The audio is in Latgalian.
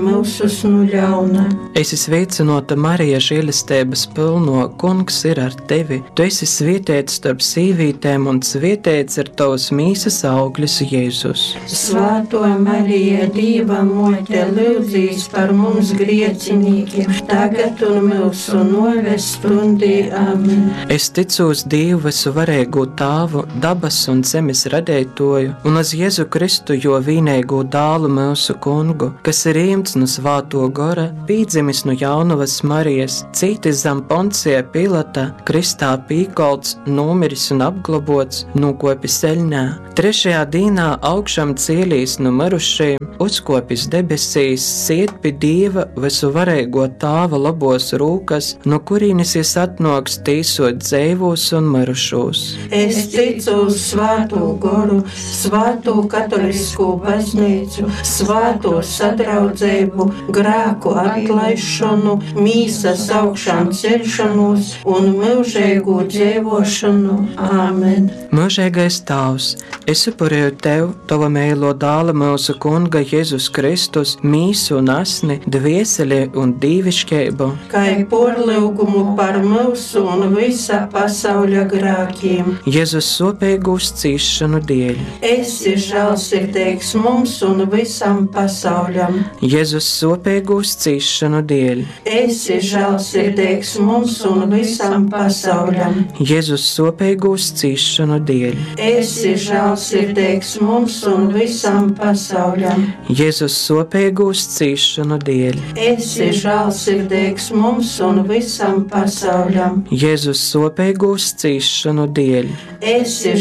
myusus nu ļauna. Esi sveicināta, Marija, žēlestības pilno, Kungs ir ar tevi. Tu esi svētīts starp sīvītēm, un svētīts ir tavas mīsas auglis, Jēzus. Svētā Marija, Dieva mote, lūdzīs par mums griecinīkiem, tagad un mūsu noves stundī. Amen. Es ticu uz Dievu visuvarīgo Tāvu, dabas un zemes radētoju, un uz Jēzu Kristu, jo vīnīgo dālu mūsu kungu, kas ir ījumts no svāto gora, pīdzimis no jaunavas Marijas, cītis zem Poncija Pilata, kristā pīkolts, nomiris un apglobots, nokopis eļnā. Trešajā dīnā augšām cielīs no mirušajiem, uzkopis debesīs, siet pie Dieva visuvarīgo Tāva labos rūkas, no kurienes jis atnoks tīsot dzīvos un mirušos. Es ticu uz svēto goru, svēto katolisko baznīcu, svēto sadraudzību, grēku atlaišanu, mīsas augšām celšanos un mūžīgu dzīvošanu. Āmen. Mūžīgais Tēvs, es upurēju Tev, Tava mēlo dāla mūsu Kunga Jēzus Kristus, mīsu un asni, dvieseli un dīvišķību, Kā porlūgumu par mūsu un visa pasauļa grēkiem. Jēzus sopīgūs cīšanu dēļ, Esi žēlsirdīgs mums un visam pasauļam. Jēzus sopīgūs cīšanu dēļ, Esi žēlsirdīgs mums un visam pasauļam. Jēzus sopīgūs cīšanu dēļ, Esi žēlsirdīgs mums un visam pasauļam. Jēzus sopīgūs cīšanu dēļ, Esi žēlsirdīgs mums un visam pasauļam. Jēzus sopīgūs cīšanu dēļ, Esi